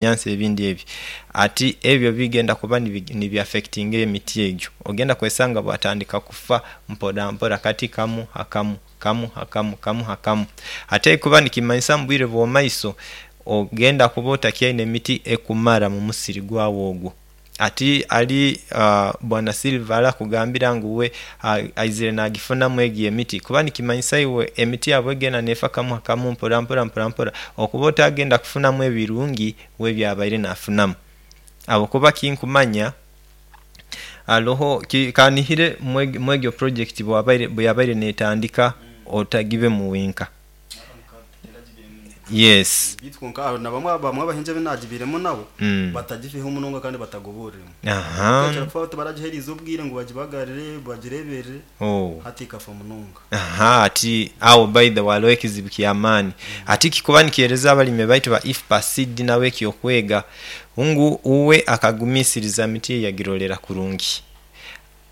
Ebinyansi ebindi ebyo ati ebyo bigenda kuba nibi affectinga emiti egyo ogenda kwesanga bwatandika kufa mpora mpora kati kamu hakamu, kamu hakamu, kamu hakamu ate kikuba nikimanyisa omubwire obwomumaiso ogenda kuba otakyaine miti ekumara mumusiri gwawe ogwo. Ati ali bwana Silver ali akugambira ngu we aizire nagifunamu egyo emiti kuba nikimanyisa iwe emiti yaawe bwegenda neefa kamu hakamu mpora mpora mpora mpora okuba otagenda kufunamu ebirungi we byabaire nafunamu. Habwokuba kinkumanya aloho kanihire mwegyo purojekiti bweyabaire netandika otagibemu wenka. Yes. Beitu kwonka hariho na bamwe abahingi abu naagibairemu nabo batagifeho munonga kandi batagobooreremu. Ekakira kufa tibaragiheereize obwire ngu bagibagarire, bagireeberere, hati ekafa munonga. Aha, ati agho by the way hariho ekizibu kya maani. Ati kikuba nikihereza abalimi baitu ba IFPA seed nabo eky'okwega ngu uwe akagumisiriza miti ye yagirolera kurungi.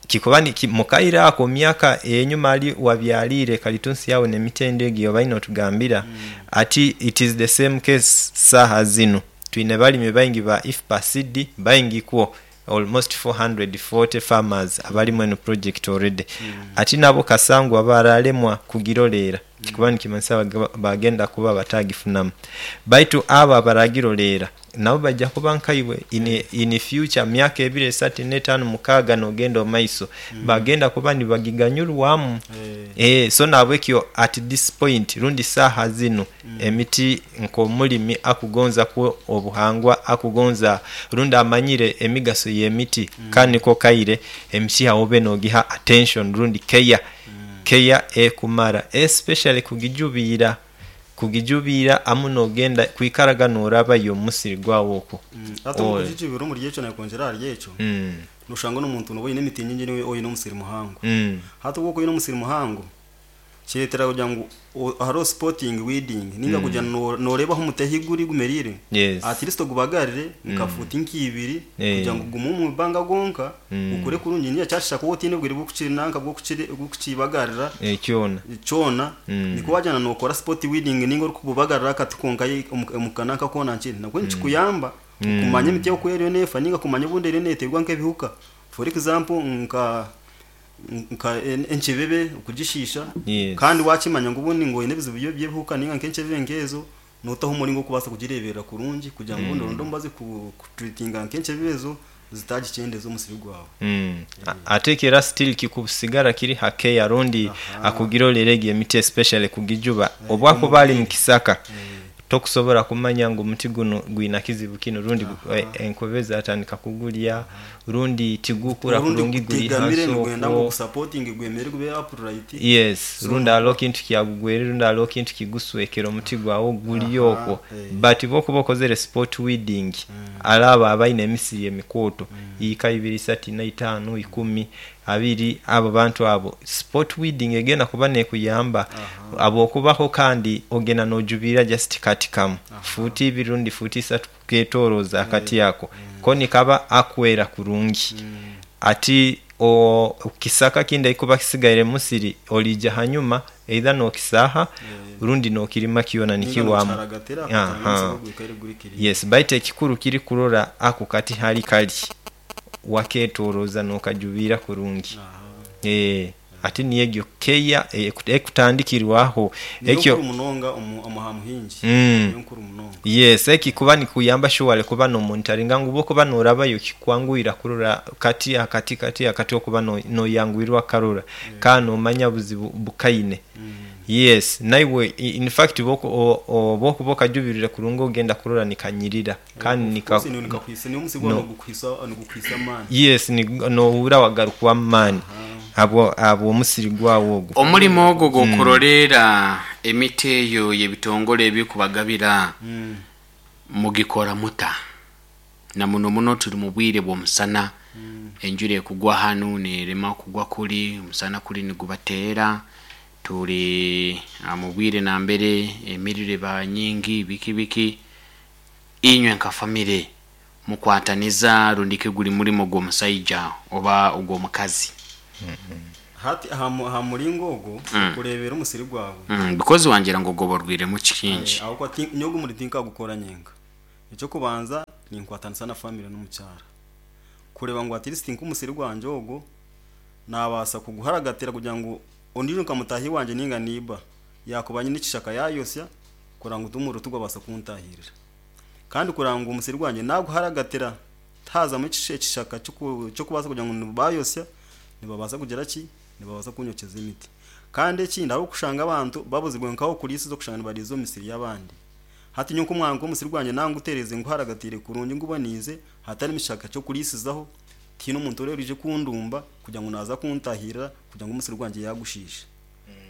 Kikuba ni mu kaire ako mu myaka ey'einhuma ali wabyaliire kalitunsi yawe n'emiti endi egyo y'obaire n'otugambira, ati it is the same case saha zinu. Twine balimi baingi ba IFPA seed baingi kwo almost 440 farmers abali mweno project already. Ati nabo kasangwa baralemwa kugiroleera kikuba nikimanyisa bagenda kuba batagifunamu. Baitu abo abaragiroleera nabo baija kuba nkaibwe in future myaka ebiri, esatu, ina, etaanu, mukaaga n'ogenda omu maiso bagenda kuba nibagiganyulwamu. Eeh so nahabwekyo at this point rundi saaha zinu emiti nk'omulimi akugonza ku obuhangwa, akugonza rundi amanyire emigaso y'emiti ka niko kaire emiti agho obe n'ogiha attention rundi care, care ekumara especially kugijubiira. Kugijubiira amu n'ogenda kwikaraga n'orabayo omu musiri gwawe okwo. Hati omu kugijubiira omuri ekyo nakwongyera ahari ekyo, noshanga n'omuntu nooba oine emiti nyingi niiwe oine omusiri muhango. Hati obu okuba oine omusiri muhango, kireetera kugira ngu hariho spotting weeding ninga kugira ngu nooreeba ahu omuti ahu guri gumereire, at least ogubagarire nka fuuti nka ibiri kugira ngu gugume omu ibanga gwonka. Gukure kurungi ninga kyashusha ku otaine bwire bw'okukinanka bw'okukibagarira kyona nikwo wagyenda nokora spot weeding ninga orikububagarira akati konka omu kananka koona nkiri nabwo nikikuyamba kumanya emiti oku eriyo nefa ninga kumanya obundi eriyo neterwa nk'ebihuka for example nka nka enkyebebe okugishiisha kandi wakimanya ngu obundi ngu oyine ebizibu by'ebihuka ninga nk'enkyebebe nk'ezo Nootaho omuringo gw'okubaasa kugireeberera kurungi kugira ngu obundi oronde omubazi kutreatinga nk'enkyebe ezo zitaagikyendeza omusiri gwawe. Ate era still kikusigara kiri ha care rundi akugirorera egyo emiti especially kugijuba. Obu akuba ali mu kisaka tokusobora kumanya ngu omuti gunu gwina kizibu kinu rundi enkobe zatandika kugulya rundi tigukura Orundi kurungi guri gutegamire hansi nigwenda ngu okwo. ogusapotinge gwemere gube upright. Yes, So rundi hariho kintu kyagugwere rundi hariho kintu kiguswekere omuti gwawe guri okwo but bwokuba okozere spot weeding hare abo abaine emisiri emikooto yiika ibiri, isatu, ina, itaanu, ikumi, abiri abo bantu abo spot weeding egenda kuba nekuyamba habwokuba ho kandi ogenda nojubirira just kati kamu fuuti ibiri rundi fuuti isatu kuketoroza akati ako koni kaba akwera kurungi. Ati kisaka kindi ekikuba kisigaire mu musiri olija hanyuma eidha n'okisaaha rundi n'okirima kyona Ninga nikiwaamu. nokiharagatira kugira ngu Aha. omusiri gwikare guri clean. Yes, baitu ekikuru kiri kurora ako kati hali kali waketoroza n'okajubiira kurungi. Eeh, ati niyo egyo care ekutandikirwaho. Niyo Ekyo. nkuru munonga omu aha muhingi. Niyo nkuru munonga. Yes, ekikuba nikuyamba surely kuba no monitoringa ngu bwokuba norabayo kikwanguhira kurora kati akati kati akati okuba noyanguhirwa kukarora kandi nomanya buzibu bukaine. Yes, naiwe in fact bwokuba okajubirire kurungi ogenda kurora nikanyirira kandi Of nika course nikakuhisa niwo omusiri gwawe no nigukuhisa amaani. Yes, nohura wagarukwamu maani habw'omusiri gwawe ogwo. Omulimo ogwo ogw'okuroleera emiti eyo y'ebitongole ebirikubagabira mugikora muta? Na muno muno turi mu bwire bw'omusana, enjura ekugwa hanu nerema kugwa kuri, omusana kuri nigubateera, turi mu bwire nambere emiriro eba nyingi biki biki. Inywe nka famire mukwataniza rundiki guri murimo gw'omusaija oba ogw'omukazi? Hati aha muringo ogwo okureebera omusiri gwawe. Because wangira ngu ogoborwiremu kingi. Ahabw'okuba nyowe ogu omurimo tinkagukora nyenka. Ekyokubanza ninkwatanisa na family n'omukyara kureba ngu at least nk'omusiri gwangye ogwo nabaasa kuguharagatira kugira ngu ondiijo nka mutaahi wangye ninga niiba yakuba nyine ekishaka yayosya kureba ngu omuriro tigwabaasa kuntahirira. Kandi kureba ngu omusiri gwangye naguharagatira tihazamu ekishaka ky'okubaasa kugira ngu nibayosya nibabaasa kugira ki, nibabaasa kunyokyeza emiti. Kandi ekindi hariho okushanga abantu babuzirwe nk'ahokuriisiza okushanga nibariisiza omu misiri y'abandi. Hati nyowe nk'omusiri gwangye nangutereeze nguharagatire kurungi nguboniize hatarimu kishaka ky'okuriisizaho, tihaine omuntu orije kundumba kugira ngu naaza kuntahirira kugira ngu omusiri gwangye yagushiisha.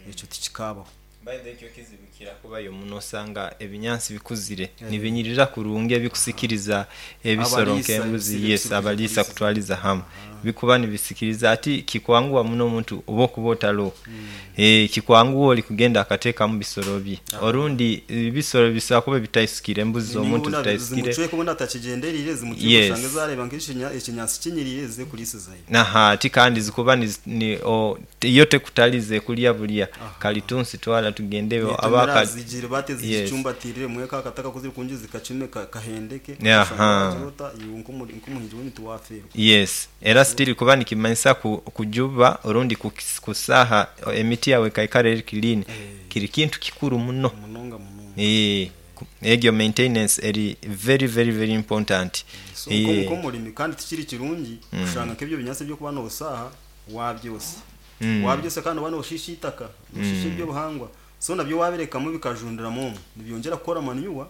Ekyo tikikabaho. By the way, ekyo kizibu kirakubayo muno osanga ebinyansi bikuzire nibinyirira kurungi ebikusikiriza ebisoro Abaliisa nk'embuzi, ebisiri yes, ebisiri abaliisa kuriisiza. Kutwaliza hamu bikuba nibisikiriza ati kikwanguha muno omuntu oba okuba otaloho, kikwanguha ori kugenda akateekamu bisoro bye, orundi ebisoro bisobola kuba bitaisikire, embuzi Ninga z'omuntu obundi zitaisikire. Zimucweka obundi atakigyendereire, zimucweka oshange zareeba nk'ekinyaatsi kinyiriire zize kuriisizayo. Aha, ati kandi zikuba ni, iyo tekutaliza ekulya bulya kalitunsi twala tugende Netomera abaka zigire bate zigicumbatirire mweka akataka kuziri zikacume kahendeke, oshanga wagirota iwe nk'omuhingi w'emiti wafeerwa. Yes, era still kuba nikimanyisa kujuba orundi kusaha emiti yawe ekaikara eri clean kiri kintu kikuru muno. Munonga munonga. Egyo maintenance eri very very very important. So nk'omurimi kandi tikiri kirungi kushanga nk'ebyo binyaatsi ebyokuba noosaaha wabyosa. Wabyosa kandi oba nooshiisha eitaka, nooshiisha ebyobuhangwa. So nabyo wabirekamu bikajundiramu omwo nibyongyera kukora manure,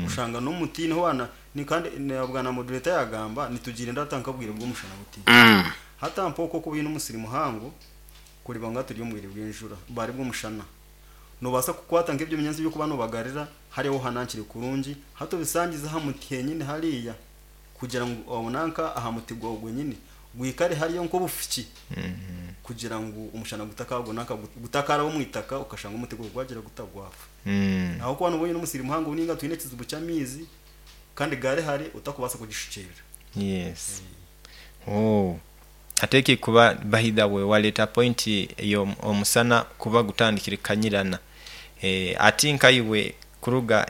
oshanga n'omuti niho wana ni kandi bwana moderator yagamba nitugirinda hata nk'obwire bw'omushana buti. Hati mpa okwo okuba oine omusiri muhango kureba ngu turi omu bwire bw'enjura bari bw'omushana, nobaasa kukwata nk'ebyo binyaatsi ebyokuba nobagarira hariho hanankire kurungi, hati obisangize aha muti henyini hariya kugira ngu obonanka aha muti gwawe gwenyini gwikare hariyo nk'obufuki kugira ngu omushana gutakagwa gutakaraba omu itaka okashanga omuti gwawe gwagira gutagwafa. Aho kuba noba oine omusiri muhango ninga twine ekizibu ky'amaizi kandi gari hare otakubaasa kugishukyerera. Yes. Oh. Ate kuba by the way waleta point eyo omusana kuba gutandikire kanyirana. Ati nkaiwe kuruga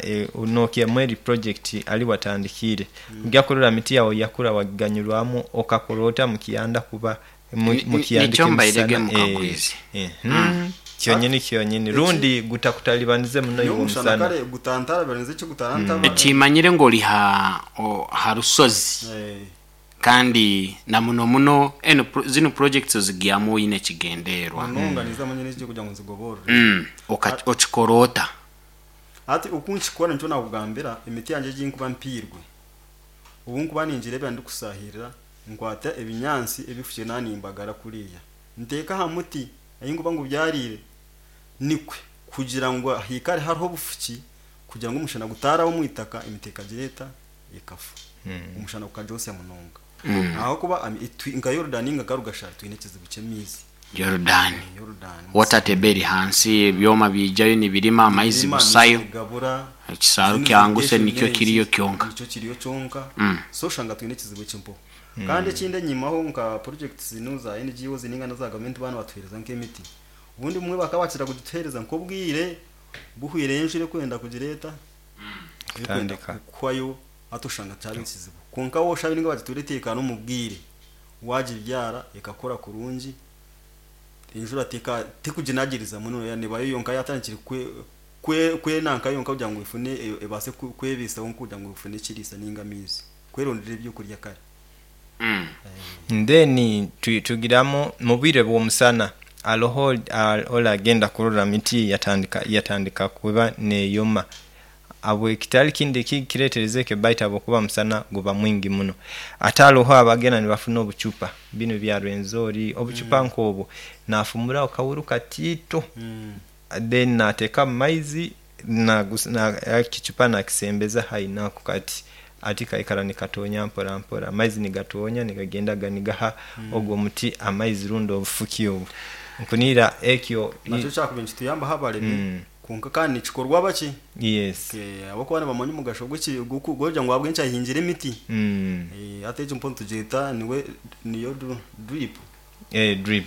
Nokia mweri project ali watandikire ojja kurora miti yawe yakura wagiganyurwamu okakora ota mukiyanda kuba mukiyandika Nikyo mbairege emisana, mukagwizi. Kyonyini kyonyini rundi gutakutalibanize muno iwe Omushana omusana. Kare gutantarabanize eki gutarantaba. Kimanyire ng'oli ha rusozi kandi na muno muno eno zino projects ozigyamu oyine ekigenderwa. Munonga nizamanya n'ekyo kugira ngu nzigoborere. Okikora ota? Ati oku nkikora nikyo nakugambira, emiti yangye egi nkuba mpiirwe obu nkuba ningireebera ndikusahirira, nkwata ebinyaatsi ebifukire nanimbagara kuriya nteeka aha muti ahi nkuba ngubyarire nikwe kugira ngu hiikare hariho obufuki kugira ngu omushana gutaraba omu itaka emiti ekagira eta ekafa, omushana gukagyosya munonga. Ahakuba nka Yorudani ninga nka Rugashara twine ekizibu ky'amaizi. Yorudani. Yorudani. Water table eri hansi, ebyoma biijayo nibirima amaizi Birima, busayo. Amaizi gabura. Ekisaaru Zino kyanguse irrigation nikyo kiriyo kyonka. Nikyo kiriyo kyonka. So oshanga twine ekizibu ekimpo. Kandi ekindi enyimaho nka projects zino za NGOs ninga na za gavumenti bana batuhereza nk'emiti. Obundi bumwe bakaba bakira kugituhereza nk'obwire buhwire enjura ekwenda kugireeta ekwenda Kutandika. Kuhwayo hati oshanga kyaba ekizibu. Kwonka wowe oshabe ninga bagitureeta n'omu bwire wagibyara ekakura kurungi, enjura tekuginagiriza muno, nebayo yonka yatandikire kwenanka yonka kugira ngu efune ebaase kwebiisaho kugira ngu efune ekiriisa ninga amaizi kwerondera ebyokurya kare. Then tugiramu mu bwire bw'omusana aloho olagenda kurora miti yatandika kuba neyoma abwe kitali kindi kiretereza ekyo baitu habwokuba musana guba mwingi muno. Ate aloho abagenda nibafuna obucupa binu bya Rwenzori, obucupa nk'obwo nafumuraho kawuru katiito, then nateeka mu maizi ekicupa nakisembeza haihi nako kati ati kaikara nikatonya mpora mpora, amaizi nigatonya nigagenda ganigaha ogwo muti amaizi rundi obufuki obwo nkunira ekyo. Nakyo kyakuba nikituyambaho abaremi, kwonka kandi nikikorwa bakye. Ahabw'okuba nibamanya omugasho gw'okugira ngu ahabw'enki ahingire emiti. Hati egyo mpo nitugyeta niwe niyo drip. Drip. Drip.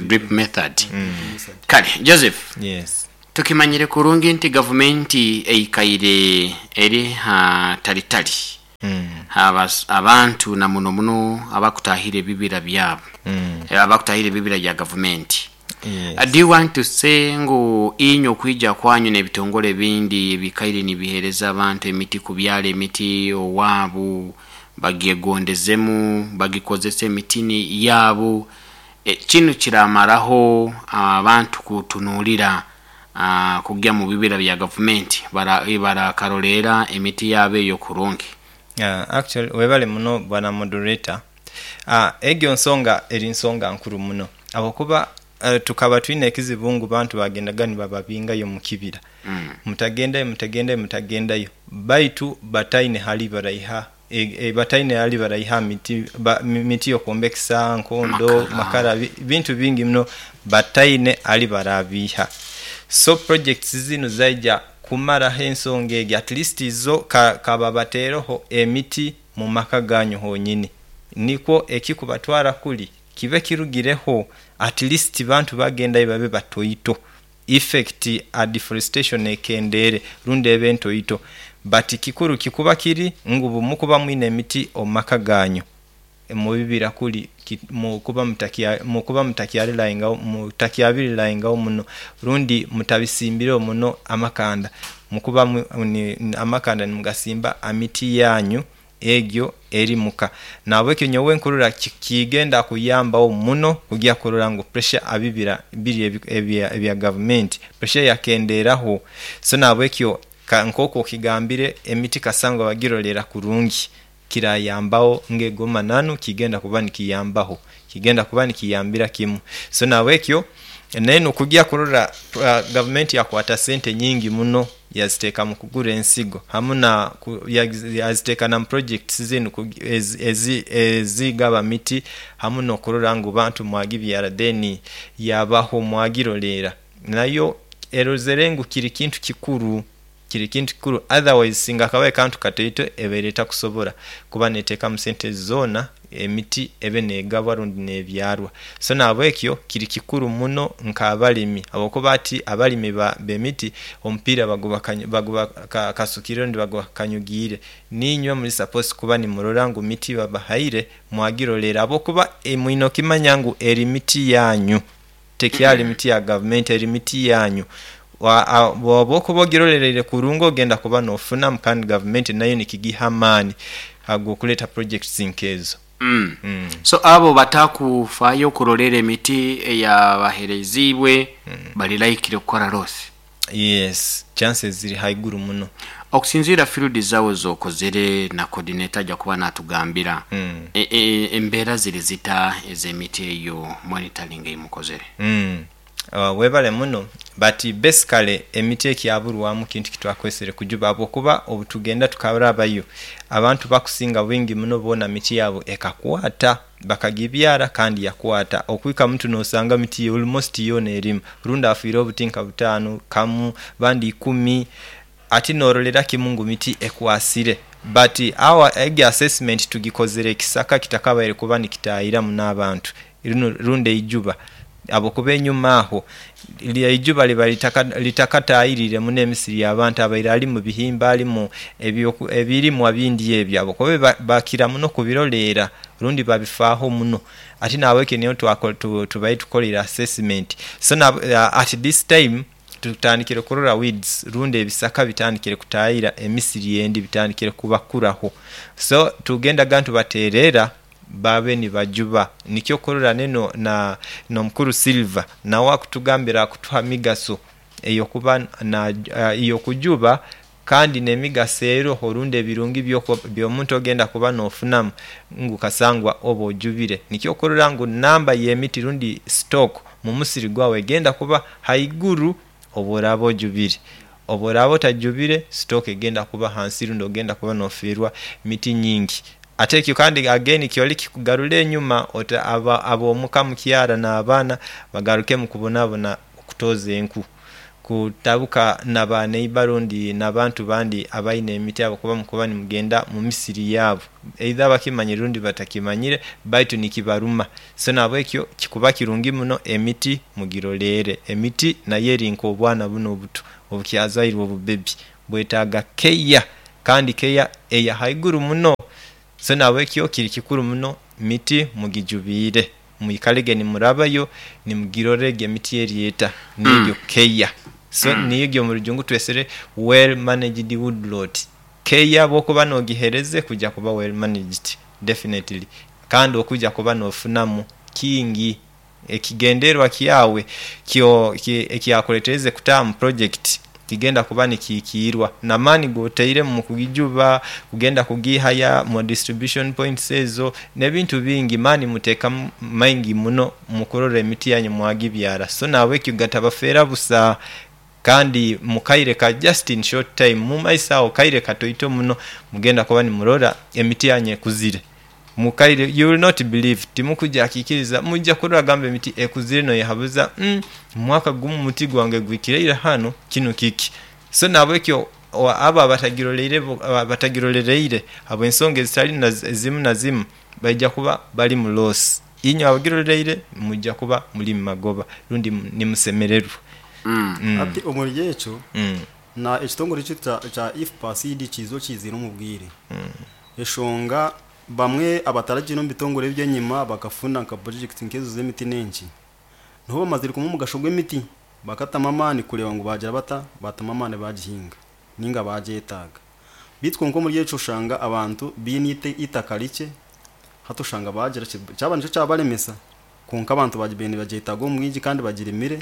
Drip method. Method. Kale Joseph. Yes. Tukimanyire kurungi nti gavumenti eikaire eri ha talitali abantu na muno muno abakutahira ebibira byabo, abakutahira ebibira bya gavumenti. Yes. Do you want to say ngu inywe okwija kwanyu n'ebitongole ebindi ebikaire nibihereza abantu emiti, kubyala emiti owaabu bagyegondezemu, bagikozesa emitini yaabu, kinu kiramaraho abantu kutunuulira kugya mu bibira bya gavumenti barakarorera emiti yaabo eyo kurungi? Actually webale muno bwana moderator. Egyo nsonga eri nsonga nkuru muno, habwokuba tukaba twine ekizibu ngu bantu bagendaga nibababingayo mu kibira. Mutagendayo, mutagendayo, mutagendayo, baitu bataine hali baraiha bataine hali baraiha miti, miti yokuombekesa nkondo, makara, makara, bintu bingi muno bataine hali barabiha. So projects zinu zaija kumaraho ensonga egi, at least zo kababateereho emiti mu maka ganyu honyini, nikwo ekikubatwara kuli kibe kirugireho, at least bantu bagendayo babe batoito, effect a deforestation ekendere rundi ebe ntoito. But kikuru kikuba kiri ngu bumukuba mwine emiti omu maka ganyu mubibira kuli mukuba mutakyabirilayingawo muno, rundi mutabisimbireho muno amakanda, mukuba amakanda nimugasimba amiti yanyu egyo eri muka. Nabwekyo nyowe nkurora kigenda kuyambaho muno kugya kurora ngu pressure abibira biri ebya gavumenti pressure yakenderaho. So nabwekyo nk'oku okigambire, emiti kasangwa bagirolera kurungi, kirayambaho ng'egoma nanu kigenda kuba nikiyambaho, kigenda kuba nikiyambira kimu. So nabwekyo nenu kugya kurora gavumenti yakwata sente nyingi muno yaziteeka mu kugura ensigo hamu na yaziteeka na mu projects zinu ezigaba miti hamu n'okurora ngu bantu mwagibyara, then yabaho mwagirolera nayo erozere ngu kiri kintu kikuru, kiri kintu kikuru. Otherwise singa akabaye kantu kataito ebaire etakusobora kuba neteekamu sente zoona emiti ebe negabwa rundi nebyarwa. So nabwekyo kiri kikuru muno nk'abalimi, habwokuba ati abalimi b'emiti omupiira baguba kasukire rundi baguba kanyugiire. Niinywe muri supposed kuba nimurora ngu miti babahaire mwagirolera, habwokuba mwine okimanya ngu eri miti yanyu, tekyali miti ya gavumenti, eri miti yanyu. Bwoba okuba ogirolereire kurungi ogenda kuba nofunamu, kandi gavumenti nayo nikigiha amaani ag'okuleeta projects nkezo. So abo batakufayo kurolera emiti eyabahereziibwe bali laikire kukora loss. Yes, chances ziri haiguru muno. Okusinziira field zawe zokozere na coordinator ajja kuba natugambira, embeera ziri zita ez'emiti eyo monitoring eyimukozere? Webale muno. But basically emiti ekyaburwamu kintu kitwakwesere kujuba, habwokuba obutugenda tukarabayo abantu bakusinga bwingi muno boona miti yabo ekakwata, bakagibyara kandi yakwata. Okwika muntu nosanga miti almost yoona erimu, rundi afiire obuti nka 5 kamu, bandi 10, ati norolera kimu ngu miti ekwasire. But our egi assessment tugikozere ekisaka kitakabaire kuba nikitahiramu n'abantu rundi eijuba, habwokuba enyuma aho eijuba liba litakatahirire muno emisiri y'abantu abaire ali mu bihimba, alimu ebirimwa bindi ebyo, habwokuba bakira muno kubirolera rundi babifaaho muno. Ati nabwekyo niyo tubaire tukolere assessment. So at this time tutandikire kurora weeds rundi ebisaka bitandikire kutahira emisiri endi, bitandikire kubakuraho. So tugendaga nitubaterera babe nibajuba. Nikyo kurora neno na n'omukuru Silver nawe akutugambira, akutuha migaso eyokuba na eyokujuba, kandi n'emigaso eroho rundi ebirungi by'omuntu ogenda kuba nofunamu ngu kasangwa oba ojubire. Nikyo kurora ngu namba y'emiti rundi stock mu musiri gwawe egenda kuba haiguru obu oraaba ojubire. Obu oraaba otajubire, stock egenda kuba hansi rundi ogenda kuba nofiirwa miti nyingi. Ate ekyo kandi again kyoli kikugarura enyuma, ab'omuka mukyara n'abaana bagarukemu kubonabona okutoza enku. Kutabuka na ba neighbor rundi n'abantu bandi abaine emiti abo kuba mukuba nimugenda mu misiri yaabo, either bakimanyire rundi batakimanyire, baitu nikibaruma. So nahabwekyo kikuba kirungi muno emiti mugiroleere. Emiti nayo eri nk'obwana bunu obuto obukyazairwe obubebi, bwetaaga keya kandi keya eya haiguru muno. So nahabwekyo kiri kikuru muno miti mugijubiire, mwikalege nimurabayo nimugirora egi emiti eri eta niyo keya. So niyo egyo omurujungu twesere well managed woodlot. Keya bwokuba nogihereza ekuja kuba well managed definitely kandi okuja kuba nofunamu kingi. Ekigendererwa kyawe ekyakuletereize kutaaha mu purojekiti kigenda kuba nikihikiirwa n'amaani gotairemu omukugijuba, kugenda kugiihaya mu distribution points ezo n'ebintu bingi, maani muteekamu maingi muno mukurora emiti yanyu mwagibyara. So nahabwekyo gatabafeera busa kandi mukaire ka just in short time mumaiso awo kaire katoito muno mugenda kuba nimurora emiti yanyu ekuzire. Mukaire you will not believe, timukuja kikiriza mwija kurora gambe emiti ekuzire noyehabuza omwaka gumu omuti gwange gwikire ira ghano kinu kiki? So nahabwekyo abo abatagirolereire habwensonga ezitali zimu na zimu baija kuba bali mu loss. Inywe abagirolereire mwija kuba muli mu magoba rundi nimusemererwa. Hati omuri ekyo, na ekitongore kyaitu kya IFPA-CD kiiza okiiziire omu bwire. Eshonga bamwe abataragiire omu bitongore eby'enyima bakafuna nka purojekiti nk'ezo z'emiti n'enki, niho bamazire kumanya omugasho gw'emiti bakatamu amaani kureeba ngu baagira bata, baatamu amaani baagihinga ninga baagyetaaga. Beitu kwonka omuri ekyo oshanga abantu baine eitaka rikye, hati oshanga baagira ki, kyaba nikyo kyabaremesa kwonka abantu bagibaire nibagyetaaga omu bwingi kandi bagirimire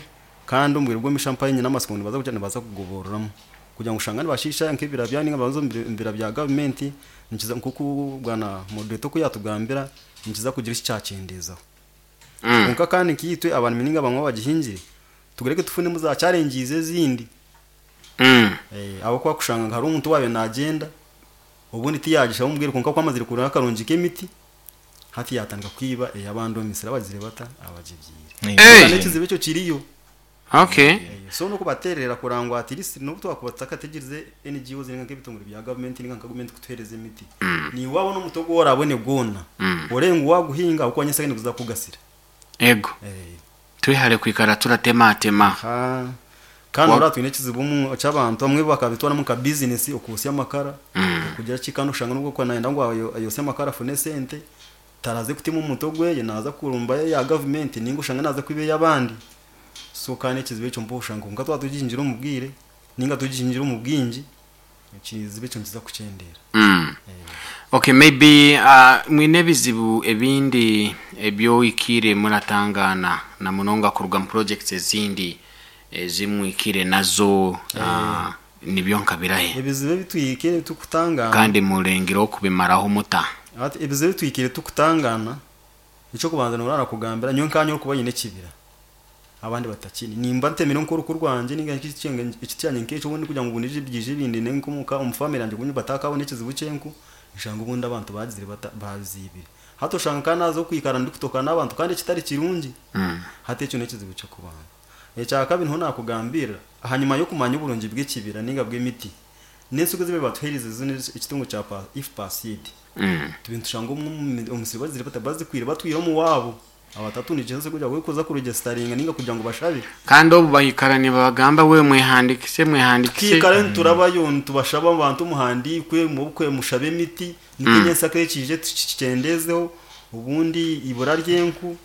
kandi omu bwire bw'omumaisho mpaho nyine amatsiko ngu nibaza kugira nibaza kugoboreramu kugira ngu oshanga nibashiisha nk'ebibira byabo ninga nibaza omu bibira bya gavumenti nikiza nk'oku bwana moderator oku yatugambira nikiza kugira eki kyakyendeezaho. Kwonka kandi nkaitwe abarimi ninga bamwe abagihingire tugureke tufunemu za challenges ezindi. Ahabw'okuba kushanga ngu hariho omuntu owaabaire naagyenda obundi tiyaagishaba omu bwire kwonka ku amazire kurora akarungi k'emiti hati yaatandika kwiba ey'abandi omu misiri abagizire bata? Abagibyaire. Hey! N'ekizibu ekyo kiriyo. Okay. So n'okubateerera kurora ngu at least n'obu twakuba tutakategyereize NGOs ninga nk'ebitongore bya gavumenti ninga nka gavumenti kutuheereza emiti, naiwe waabona omuti ogu oraabone gwona, oreebe ngu waaguhinga ahabw'okuba nyentsya niguza kukugasira. Ego. Twehare kwikara turatematema. Aha. Kandi oraba twine ekizibu omu ky'abantu abamwe bakabitwaramu nka bizinesi okwosya amakara, okugira ki kandi oshanga n'obu okuba nayenda ngu ayosye amakara afune esente, taraze kutema omuti ogweye naaza kurumba eya gavumenti ninga oshange naaza kwiba ey'abandi. So kandi ekizibu ekyo mpaho oshanga kwonka twaba tugihingire omu bwire ninga tugihingire omu bwingi, ekizibu ekyo nikiza kukyendeera. Okay, maybe mwine ebizibu ebindi ebi oikiire muratangaana na munonga kuruga mu projects ezindi ezi mwikire nazo nibyo nka birahe? Ebizibu ebi twikire tukutangaana. Kandi murengireho kubimaraho muta? Hati ebizibu ebi twikire tukutangaana, eky'okubanza noorora arakugambira nyowe nkaanye orikuba oine ekibira abandi batakiine. Nimba ntemire nk'oruku rwangye ninga ekiti kyangye nk'ekyo obundi kugira ngu obundi byije bindinde nk'omuka omu family yangye obundi batakaabona ekizibu ky'enku, nshanga obundi abantu baagizire bata, baabiziibire. Hati oshanga nka naaza kwikara ndikutoka n'abantu kandi ekitari kirungi. Hati ekyo n'ekizibu ky'okubanza. Ekyakabiri niho naakugambirira, ahanyima y'okumanya oburungi bw'ekibira ninga bw'emiti, n'ensigo ezi batuheerize zo ekitongore kya IFPA seed, tubire nitushanga omu misiri bagizire bata, bazikwire batwire omu waabo. Abatatundikire ensigo kugira ngu kuza kuregisitaringa ninga kugira ngu bashabe. Kandi obu baikara nibabagamba we mwehandikise mwehandikise. Twikara niturabayo nitubashaba abantu muhandiikwe mubukwe mushabe emiti nikwo nyensaka ekiije tukikyendezeho obundi ibura ry'enku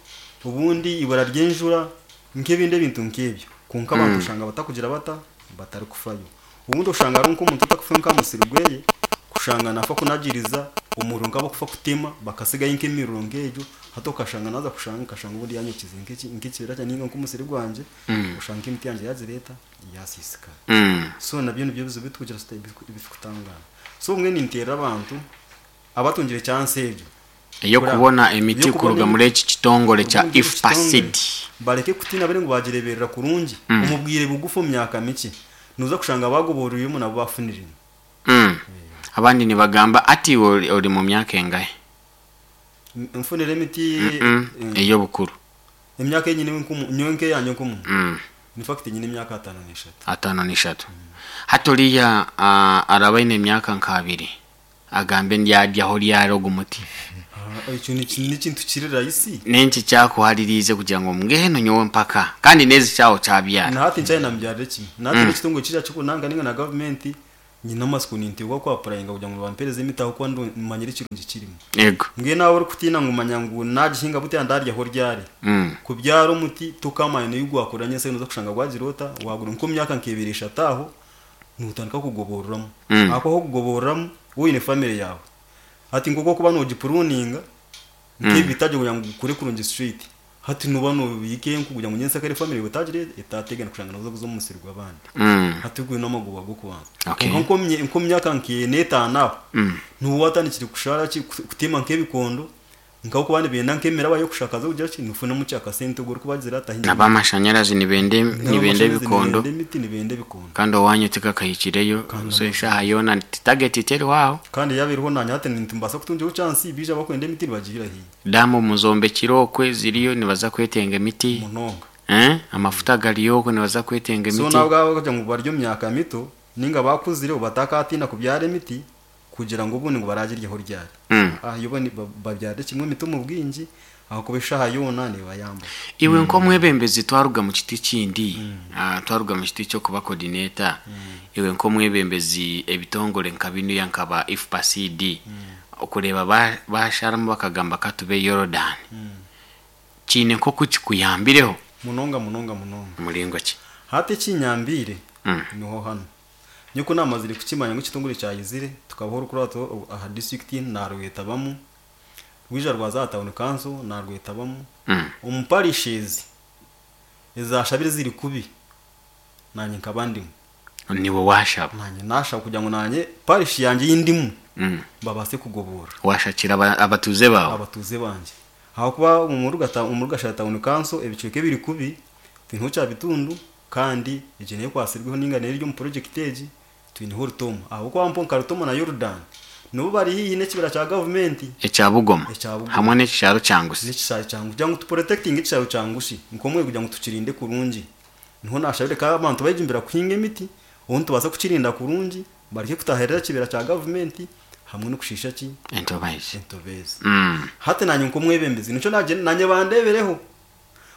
obundi ibura ry'enjura nk'ebindi ebintu nk'ebyo kwonka abantu oshanga batakugira bata batarikufayo. Obundi oshanga hariho nk'omuntu otakufayo nk'aha musiri gweye kushanga naafa kunagiriza omuriro nk'abakufa kutema bakasigayo nk'emiriro nk'egyo hati okashanga naaza kushanga nkashanga obundi yanyokize nk'ekibira kyangye ninga nk'omusiri gwangye oshanga nk'emiti yangye yagira eta yasiisikara. So nabyo nibyo bizibu ebitukugira ebitukutangaana. So mbwenu ninteerera abantu abatungire chance egyo Ey'okubona emiti kuruga muri eki kitongore kya IFPA-seed. Bareke kutiina bari ngu bagireeberera kurungi omu bwire bugufu omu myaka mikye nooza kushanga bagoborwiremu nabo bafuniremu. Abandi nibagamba ati iwe ori mu myaka engahi? Nfunire emiti Ey'obukuru. Emyaka ei nyine nyowe nk'eyangye nk'omuntu. In fact nyine emyaka 53. 53. Hati oriya araba aine emyaka nk'abiri agambe ndyaryaho ryari ogu muti? Ekyo nekintu kiri rahisi. Nenki kyakuhaririize kugira ngu mbwenu nyowe mpaka kandi n'ezi kyaho kyabyara? Na hati nkyari nambyarire kimwe. Na hati n'ekitongore kirya kikunanga ninga na gavumenti nyine amasiko ninteekwa ku applyinga kugira ngu bampereze emiti ahabw'okuba manyire ekirungi kirimu. Yego. Mbwenu naaba orikutiina ngu manya ngu nagihinga buti ndaryaho ryari. Kubyara omuti tokamanya n'ebi gwakura nyentsya noza kushanga gwagira ota wagura nk'omu myaka nk'ebiri eshatu aho notandika kugoboreramu. Ahakuba ahu okugoboreramu waaba oine family yaawe hati nk'oku orikuba nogipuruninga nk'ebitagi kugira ngu gukure kurungi straight hati nooba nobiika enku kugira ngu nyentsya kare family yaawe etagira etategana kushanga nooza kuza omu musiri gw'abandi. Hati ogwo n'amagoba g'okubanza. Kwonka nk'omu myaka nk'ena etaano aho nooba watandikire kushara ki kuteema nk'ebikondo nk'ahabw'okuba nibenda nk'emiraba y'okushakaza kugira ki nofunamu ki akasente ogwo orikubagira ati ahi N'ab'amashanyarazi nibenda nibenda N'ab'amashanyarazi ebikondo. nibenda emiti nibenda ebikondo. Kandi owanyu tikakahikireyo so eshaaha yoona target teriho aho. Kandi yaaba eriho naanye hati nimbaasa kutungiraho chance baija bakwenda emiti nibagiira haihi. Daamu muzombekire okwe ziriyo nibaza kwetenga emiti. Munonga. Amafuta gariyo okwe nibaza kwetenga So emiti. nabo abakugira ngu bari omu myaka mito ninga bakuzire batakatiina kubyara emiti kugira ngu obundi ngu baragiryaho ryari. Yo babyarire kimwe emiti omu bwingi ahakuba eshaaha yoona nebayamba. Iwe nk'omwebembezi twaruga mu kiti kindi, twaruga mu kiti ky'okuba coordinator, iwe nk'omwebembezi ebitongore nka binuya nka ba IFPA CD okureeba basharamu bakagamba katube Yorodani. Kiine nk'oku kikuyambireho? Munonga munonga munonga. Muringo ki? Hati ekinyambiire niho hanu. Nyowe ku namazire kukimanya ngu ekitongore kyayizire tukabaho orukurato aha district narwetabamu, rwija rwaza aha town council narwetabamu, omu parishes ezashabire ziri kubi nanye nkaba ndimu. Niwe washaba? Nanye nashaba kugira ngu nanye parish yangye ei ndimu babaase kugoborora. Washakira abatuuze baawe? Abatuuze bangye. Ahakuba omu Rugashara town council ebicweka ebiri kubi twineho Kyabitundu kandi egyo neyo ekwatsirweho ninga neyo eri omu project egi twineho Rutooma. Ahabw'okuba mpo nka Rutooma na Yorudaani nibo bari haihi n'ekibira kya gavumenti. Ekya Bugoma Ekya Bugoma. Hamwe n'ekishaaru kya Ngusi. N'ekishaaru kya Ngusi. Kugira ngu tuprotectinge ekishaaru kya Ngusi nk'omwe kugira ngu tukirinde kurungi. Niho naashabire ka abantu bayejumbira kuhinga emiti obu nitubaasa kukirinda kurungi bareke kutaahirira ekibira kya gavumenti hamwe n'okushiisha ki? Entobezi. Entobezi. Hati naanye nk'omwebembezi nikyo naagira naanye bandeebereho.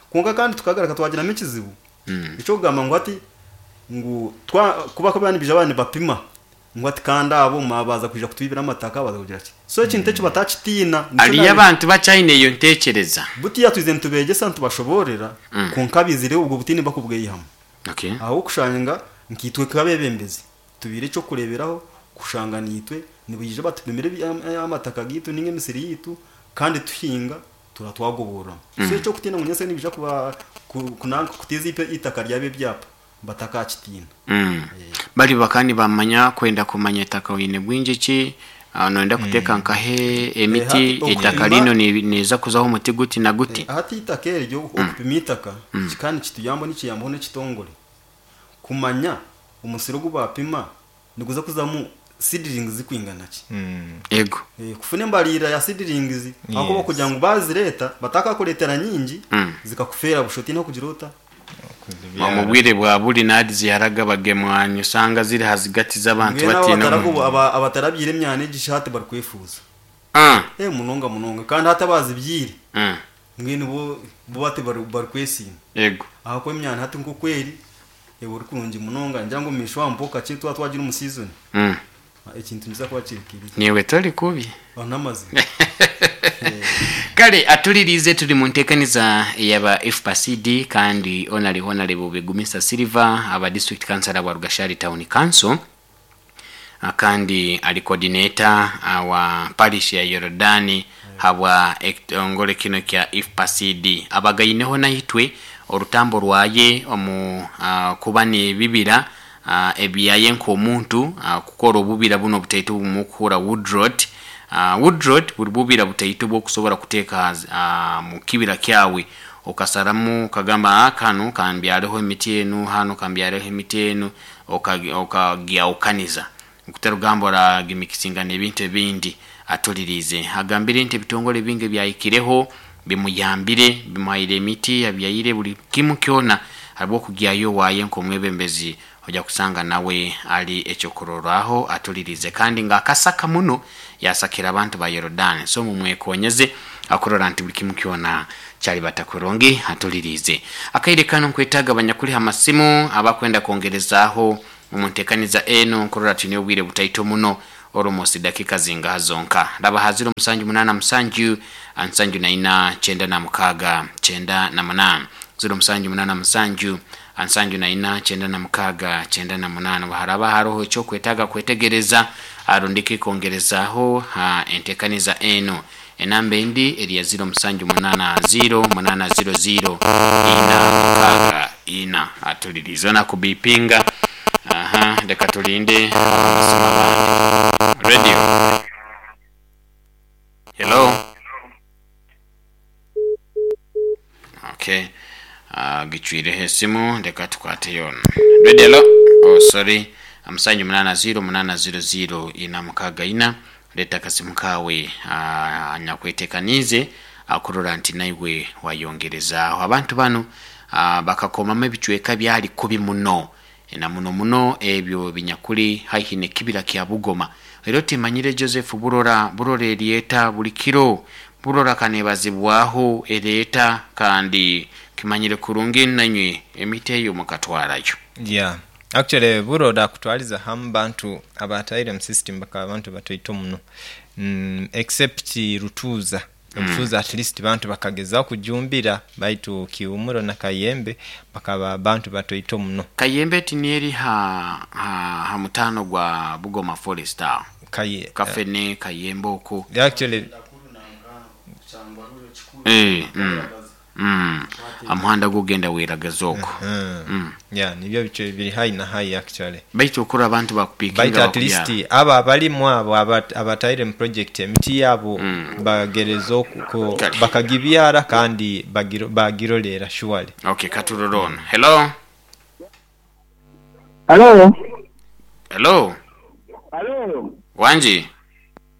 Kwonka kandi tukagaruka twagiramu ekizibu eky'okugamba ngu hati ngu twa ku bakuba nibaija baaba nibapima ngu hati kandi abo baaza kwija kutwibira amataka baaza kugira ki. So ekintu eki batakitiina. Nikyo Hariyo naabiire abantu bakyaine eyo ntekyereza. Butiya twizire nitubeegyesa nitubashoboororera kwonka abaizire obwo butiini bakubweihamu. Ahabw'okushanga nkaitwe nk'abeebembezi tubaire eky'okureeberaho kushanga naitwe nibaija batupimira amataka gaitu ninga emisiri yaitu kandi tuhinga tura twagoboreramu. So eky'okutiina ngu nyentsya nibaija kuba kunanka kuteeza eitaka ryabo ebyapa batakakitiina. Bari bakaba nibamanya kwenda kumanya eitaka oine bwingi ki, noyenda kuteeka nkahe emiti, eitaka rinu niriza kuzaho omuti guti na guti. Hati eitaka eryo okupima eitaka kikaba nikituyambaho nikiyambaho n'ekitongore kumanya omusiri ogu baapima niguza kuzamu seedlings zikwingana ki. Ego. Kufuna embaririra ya seedlings ahakuba kugira ngu bazireeta batakakureetera nyingi zikakufeera busha otiine kugira ota? Omu bwire bwa buri nadi ziharaga bagemwanyu osanga ziri hazigati z'abantu Mbwenu abo batiine abatarabyire emyana egi shi hati barikwefuuza. Munonga munonga kandi hati abazibyire mbwenu bo hati barikwesiima. Ego. Ahakuba emyana hati nk'oku eri eba eri kurungi munonga ningira ngu omu maisho aho mpo kakye twaba twagira omu season ekintu nikiza kuba kiri kiri. Niiwe tori kubi. N'amazima. Kale atuliriize turi mu nteekaniza eyaba FPACD kandi Honare Honarebo Begumisa Silver aba district councillor wa Rugashari Town Council kandi ari coordinator wa parish ya Yorodani habwa ekitongore kinu kya IFPACD abagaineho naitwe orutambo rwaye omu kuba n'ebibira ebyaye nk'omuntu kukora obubira buno obutaito bumukuhura woodrot. Woodrot buri bubira butaito bw'okusobora kuteeka mu kibira kyawe okasaramu okagamba kanu kambyareho emiti enu hanu kambyareho emiti enu okagyahukaniza okutarugamba oragimikisinga n'ebintu ebindi. Atuliriize agambire nti ebitongore bingi byahikireho bimuyambire bimuhaire emiti abyaire buri kimu kyona. Habwokugyayo waaye nk'omwebembezi ojja kusanga nawe ali ekyokurorraho atulirize kandi ng'akasaka muno yasakira abantu ba Yorodani. So mumwekonyeze akurora nti buli kimu kyona kyalibata kurungi atulirize. Akaire kano nkwetaaga abanyakuliha amasimu abakwenda kwongerezaaho omuntekaniza eno nkurora twine obwire butaito muno oromosi dakika zingaha zonka. Raba ha 0787 74 96 98 0787 74 96 98. Haraba haroho ekyokwetaaga kwetegereza arundiki kwongerezaaho ha entekaniza eno. Enamba endi eri ya 0780 800 464 atulirize ona kubipinga. Aha, leka tulinde abamasimu abandi. Radio. Hello. Okay. Gichwireho esimu leka tukwateyo ono. Radio hello. Oh sorry. Amusanju 80 800 464 leta akasimu kawe anyakwetekanize akurora nti naiwe wayongerezaaho. Abantu bano bakakomamu ebicweka byali kubi muno na muno muno ebyo binyakuli haihi nekibira kya Bugoma. Era timanyire Joseph Burora, Burora eryeta buli kiro, Burora kanebazibwaho ereeta kandi kimanyire kurungi nanywe emiti eyo mukatwarayo. Yeah. Actually Burora kutwaliza hamu bantu abataire mu system bakaba abantu batoito muno. Except Rutuza. Rutuza at least bantu bakagezaho kujumbira baitu Kiumuro na Kayembe bakaba bantu batoito muno. Kayembe tinieri ha mutano gwa Bugoma Forest aho. Kafene Kayembe oko. Actually amuhanda gugenda weragaza oko. Yeah, nibyo bicho biri high na high actually. Baitu okura abantu bakupikinga baitu at least aba balimu abo abataire mu project emiti yabo bagerezo bakagibyara kandi bagirolera surely. Okay, katurorona. Hello. Hello. Hello. Hello. Wanji.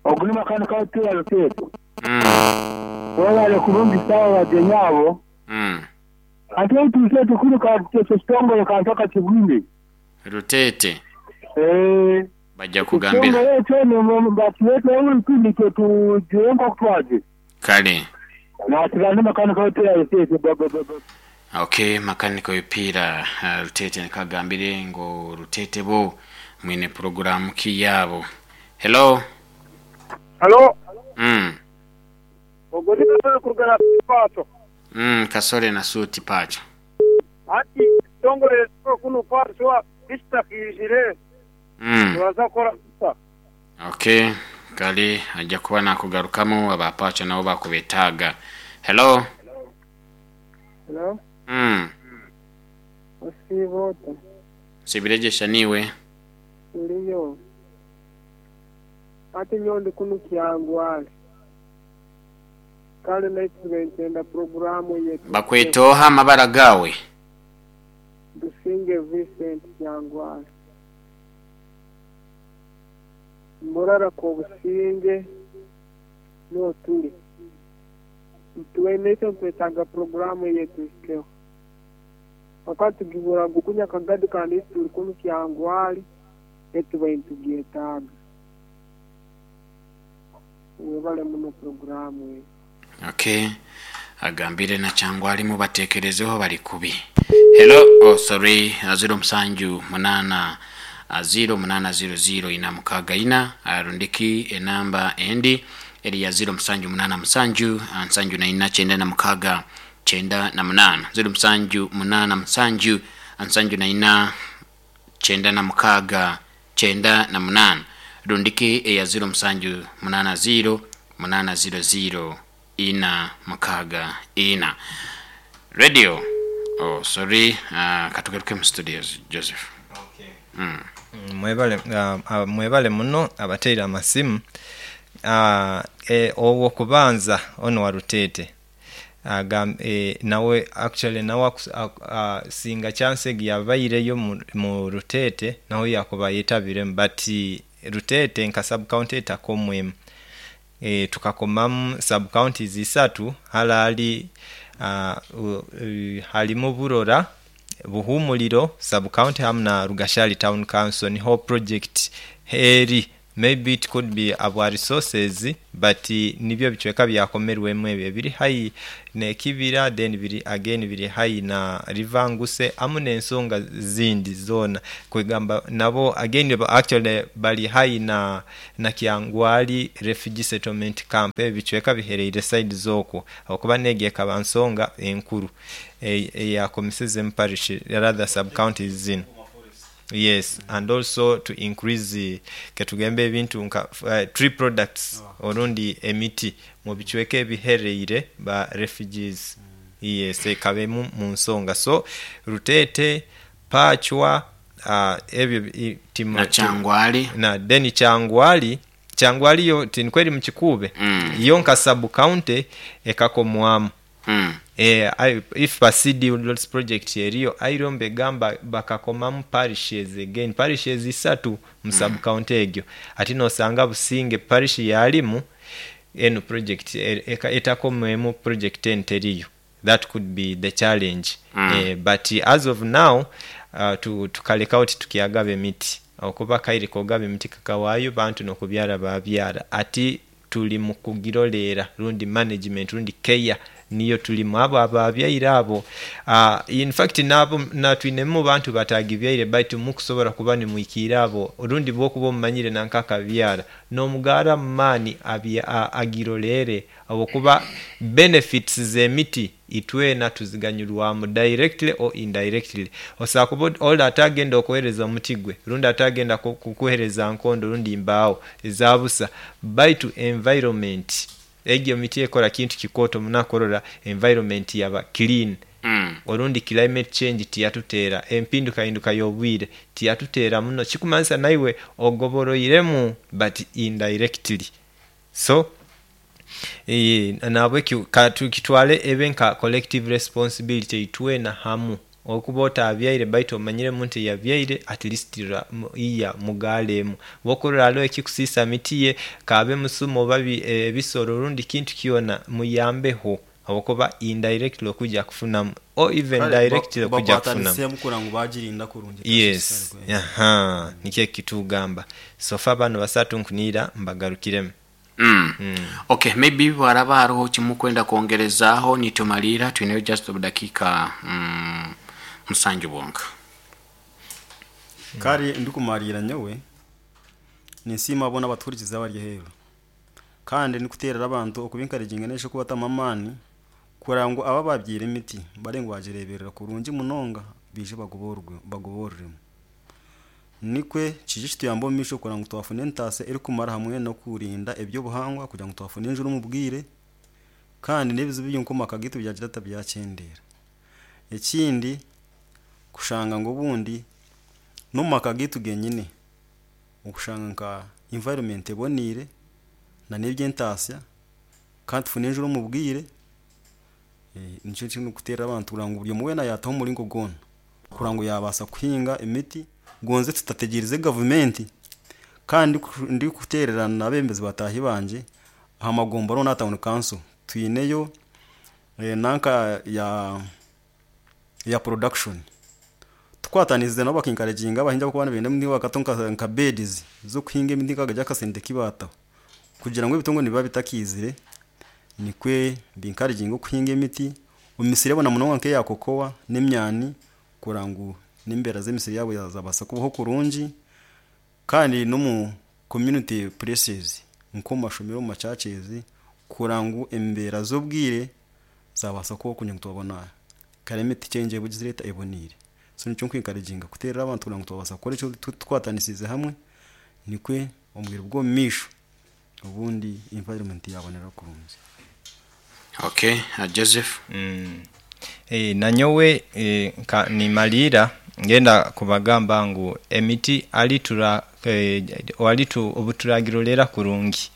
Okulima kanu ka TLC. Wala kurungi sawa wajenyabo. Ate tuse tukuru ka kitongole kantoka kibwinde. Rutete. Bajja kugambira. Kitongole cyo batulete uri tujenga kutwaje. Kale. Na tugande makano ka TLC. Okay, makaniko ipira Rutete nikagambire ngo Rutete bo mwine programu kiyabo. Hello. Hello. Ogolika kurugana pato. Kasore na suti pacho. Ati tongole kuno pacho istakijire. Waza kora. Okay, kali ajja kuba nakugarukamo abapacho nabo bakubetaga. Hello. Hello. Osivota. Sibirejesha niwe. Ndiyo. Ati nyondi kunu kyangwale. Kale naitubentenda programu yetu. Bakwetoha amabara gawe. Dusinge Vincent Kyangwale. Murara ko businge no tuli. Tuwenete kwetanga programu yetu ikeo. Wakati gibura gukunya kagadi kandi tuli kunu Kyangwale etubentugietaga. Webale muno programu yetu. Okay. Agambire na Kyangwali mubatekerezeho bali kubi. Hello, oh sorry, 07 8 0 8 0 0 464 arundiki enamba endi eri ya 07 8 7 7 4 96 98 07 8 7 4 96 98 rundiki eya 07 8 0 8 0 0 464. Radio. Oh sorry, katugaruke mu studios Joseph. Okay. Mwebale muno abateera amasimu. Obwo kubanza ono wa Rutete. Nawe actually nawe singa chance yabaireyo mu Rutete nawe yakuba yetabire but Rutete nka sub county etakomwemu. Tukakomamu sub counties isatu halali halimu Burora Buhumuliro sub county hamu na Rugashali town council niho project eri. Maybe it could be abwa resources, but nibyo bicweka byakomerwemu ebyo biri high nekibira, then biri again biri high na river Nguse amu n'ensonga zindi zoona kwegamba nabo again actually bali high na Kyangwali refugee settlement camp. Ebyo bicweka bihereire side z'okwo okuba n'egyo ekaba nsonga enkuru eyakomiseze mu parish, rather sub counties zino. Yes, and also to increase ketugembe ebintu nka tree products orundi emiti mu bicweka ebihereire ba refugees. Yes, ekaba emu mu nsonga. So Rutete, Pachwa, ebyo Na Kyangwali. Na then Kyangwali, Kyangwali yo tinikweri mu Kikuube, yo nka sub county ekakomwamu. If a CD Woodlots project eriyo aire mbegamba bakakomamu parishes again, parishes isatu mu sub county egyo. Ati nosanga Businge parish yalimu eno project etakomwemu project eno teriyo. That could be the challenge. But as of now tukaleka oti tukyagaba emiti okuba kaire kogaba emiti kakawaayo bantu n'okubyara babyara, ati tuli mu kugiroleera rundi management rundi care niyo tulimu abo ababyaire abo. In fact nabo natwinemu bantu batagibyaire, baitu mukusobola kuba nimwikiira abo rundi bwokuba omumanyire nanka akabyara n'omugaara mu maani agiroleere okuba benefits z'emiti itwena tuziganyurwamu directly or indirectly. Osobola kuba ole atagenda okuhereza omuti gwe rundi atagenda kukuhereza nkondo rundi mbaawo ezabusa, baitu environment egyo miti ekola kintu kikooto munakorora environment yaba clean. Orundi climate change tiyatuteera, empindukahinduka y'obwire tiyatuteera muno, kikumanyisa naiwe ogoboroiremu but indirectly. So nahabwekyo katukitwale ebe nka collective responsibility itwena hamu okuba otabyaire baitu omanyire omuntu eyabyaire at least iya mugaaleemu bwokurora hariho ekikusiisa miti ye kaabe musuma oba ebisoro rundi kintu kyona muyambeho habwokuba indirectly okuja kufunamu or even directly okuja kufunamu. Bakwatanisemu kurora ngu bagirinda kurungi. Yes, aha, nikyo ekitugamba. So far bano basatu nkuniira mbagarukiremu. Okay, maybe bwaraba hariho kimukwenda kwongerezaaho nitumaliira twineyo just obudakiika 7 bwonka. Kare ndikumaliira nyowe ninsiima boona abatuhurikize abari aheeru, kandi ndikuteerera abantu okuba encouraging nesha okubatamu amaani kurora ngu abo ababyaire emiti bare ngu bagireeberera kurungi munonga baije bagoboreremu. Nikwe kije kituyambe omu maisho kurora ngu twafuna entaasa erikumara hamwe n'okurinda ebyobuhangwa kugira ngu twafuna enjura omu bwire, kandi n'ebizibu byonka omu maka gaitu byagira ata byakyendeera. Ekindi kushanga ngu obundi n'omu maka gaitu genyine okushanga nka environment eboniire na n'eby'entaasya kandi tufune enjura omu bwire. Nikyo kindikuteerera abantu kurora ngu buri omwe weena yaataho omuringo gwona kurora ngu yaabaasa kuhinga emiti gonze tutategereze gavumenti, kandi ndikuteerera n'abeebembezi bataahi bangye aha magombora n'aha town council twineyo nanka ya production tukwatanisize nabo baka encouraginga abahingi abarikuba nibenda emiti bakataho nka beds z'okuhinga emiti bakagira akasente ki baataho kugira ngu ebitongore nibiba bitakiizire nikwe bi encouraginge okuhinga emiti omu misiri yabo na munonga nk'eya cocoa n'emyani kurora ngu n'embeera z'emisiri yaabo zabaasa kubaho kurungi, kandi n'omu community places nk'omu mashomero omu machurches kurora ngu embeera z'obwire zabaasa kubaho kugira ngu twabona climate change ebugizire eta eboniire. So nikyo nku encouraginga kuteerera abantu kurora ngu twabaasa kukora ekyo tukwatanisize hamwe nikwe omu bwire bw'omu maisho obundi environment yabonera kurungi. Okay, Joseph. Nanyowe nka nimaliira ngenda kubagamba ngu emiti obuturagirolera kurungi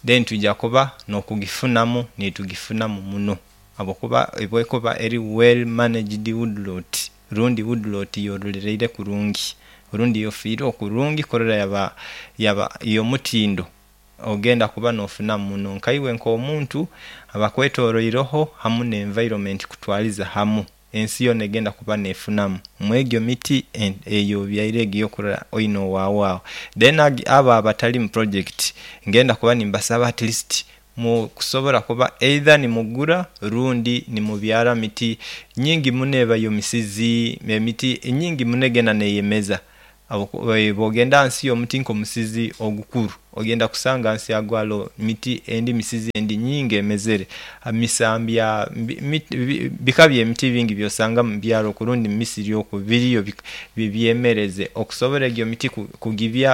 then twija kuba n'okugifunamu nitugifunamu muno habwokuba bwekuba eri well managed woodlot rundi woodlot yorolereire kurungi rundi yofiireho kurungi kurora yaba y'omutindo ogenda kuba n'ofunamu muno nkaiwe nk'omuntu abakwetoroireho hamu n'environment kutwaliza hamu. Ensi yoona egenda kuba neefunamu mwegyo miti ey'obyaire egyo ey'okurora oine owaawe aho. Then abo abatali mu project ngenda kuba nimbasaba at least mukusobola kuba either nimugura rundi nimubyara miti nyingi muno ebayo misizi, emiti nyingi muno egenda neyemeza. Bwogenda ahansi y'omuti nk'omusizi ogukuru ogenda kusanga ahansi yagwo haroho miti endi misizi endi nyingi emezere, misambya, bika by'emiti bingi byosanga mu byaro oku rundi mu misiri oku biriyo byemereze. Okusobola egyo miti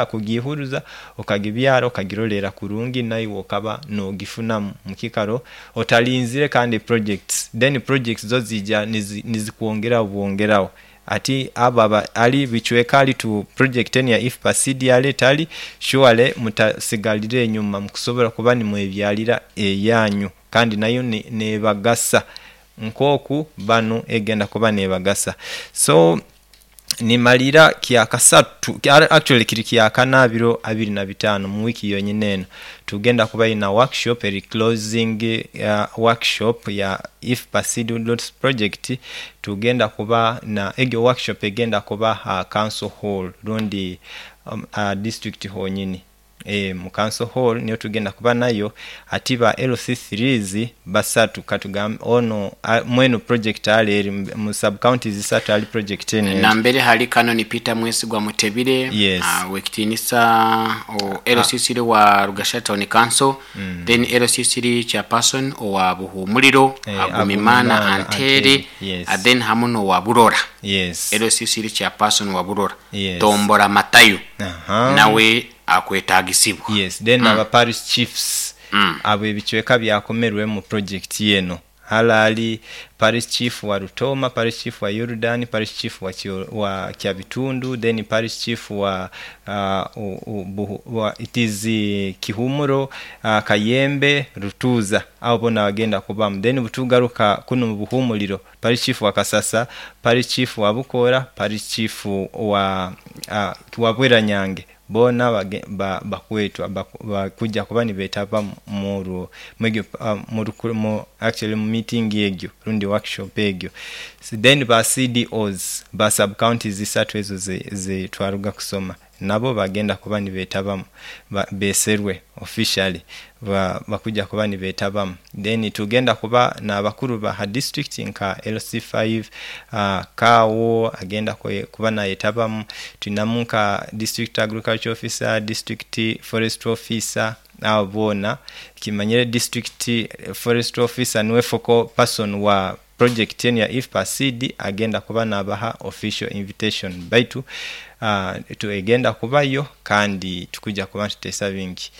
kugiihuruza okagibyara okagiroleera kurungi naiwe okaba nogifunamu mukikaro otalinzire kandi projects then projects zo ziija nizikwongeraho bwongeraho. Ati abo abali bicweka ali tu project enu ya IFPA seed ale etali surely mutasigalira enyuma mukusobola kuba nimwebyalira eyanyu kandi nayo nebagasa nkoku banu egenda kuba nebagasa. So nimalira kyakasatu actually kiri kyakana biro abiri na bitaano mu wiiki yonyini eno tugenda kuba ina workshop eri closing workshop ya IFPA seed roots project. Tugenda kuba na egyo workshop egenda kuba aha council hall rundi aha district honyini mu council hall niyo tugenda kuba nayo. Ati ba LC3's basatu katugambe ono mwenu project ale eri mu sub counties isatu ali project eno eri. Nambere hali Canon Peter Mwesigwa Mutebile, Yes. Owekitinisa o LC3 wa Rugashara Town Council, then LC3 Chairperson owa Buhumuliro, Agumimana Agumimana Antere, Antere, yes. Then hamu n'owa Burora. Yes. LC3 Chairperson wa Burora, Yes. Tombora Matayo, Aha. nawe akwetagisibwa. Yes, then aba parish chiefs abo ebicweka byakomerwemu project eno. Halali parish chief wa Rutoma, parish chief wa Yorudani, parish chief wa Kyabitundu, then parish chief wa it is Kihumuro, Kayembe, Rutuza. Abo bona bagenda kubamu. Then butugaruka kuno mu Buhumuliro, parish chief wa Kasasa, parish chief wa Bukora, parish chief wa Bweranyange. Bona bakwetwa bakuja kuba nibetaba actually mu meeting egyo rundi workshop egyo. So then ba CDOs ba sub counties isatu ezo ze twaruga kusoma nabo bagenda kuba nibetabamu, beserwe officially bakuja kuba nibetabamu. Then tugenda kuba n'abakuru ba ha district nka LC5, Kawo agenda kuba nayetabamu, tulinamu nka district agriculture officer, district forest officer, abo boona kimanyire district forest officer niwe focal person wa project eno ya IFPA seed agenda kuba nabaha official invitation baitu tuegenda kubayo kandi tukuja kuba tutesa bingi.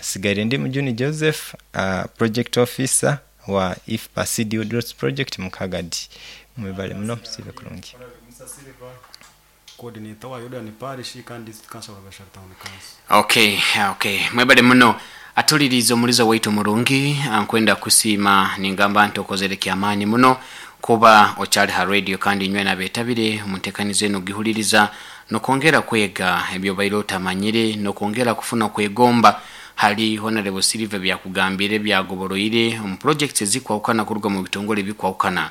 Sigaire ndi Mujuni Joseph, project officer wa IFPA seed roots project Mukagadi. Mwebale muno, musibe kurungi. Coordinator wa Yordan Parish kandi district council wa Gashara Town Council. Okay. Mwebale muno. Atuliriza omulizo waitu murungi, nkwenda kusiima ningamba nti okozere kyamaani muno kuba okyali ha radio kandi inywe nabetabire omuntekanizo eno gihuliriza nokwongera kwega ebyo baire otamanyire nokwongera kufuna kwegomba hali Honorable Silver byakugambire byagoboroire omu projects ezikwawukana kuruga mu bitongole bikwawukana.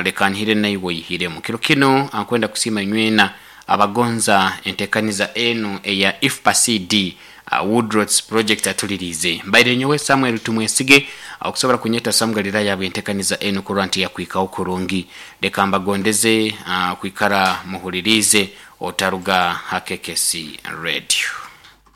Leka nhire naiwe oyihiremu kiro kino. Nkwenda kusiima inywena abagonza entekaniza enu eya IFPA CD Woodrots project atulirize. Mbaire nyowe Samuel Tumwesige, okusobola kunyeta Samuel yabwe entekaniza enu kurwa nti yakwikaho kurungi. Leka mbagondeze kwikara muhulirize otaruga hakekesi radio.